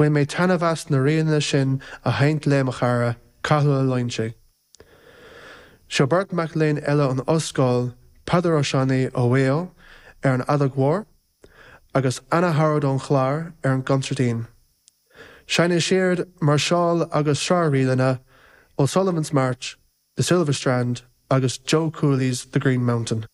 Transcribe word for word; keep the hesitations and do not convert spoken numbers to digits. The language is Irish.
Bhain mé taitneamh as na ríleanna sin a sheinnt le mo chara, Cathal Ó Loingsigh. Seo beirt mac léinn eile ón ollscoil, Peadar Ó Seanaigh ó Mhaigh Eo ar an fheadóg mhór, agus Anna Howard ón Chlár ar an gconsairtín. Seinnfidh siad máirseáil agus sraith ríleanna, O'Sullivan's March, The Silver Strand agus Joe Cooley's The Green Mountain.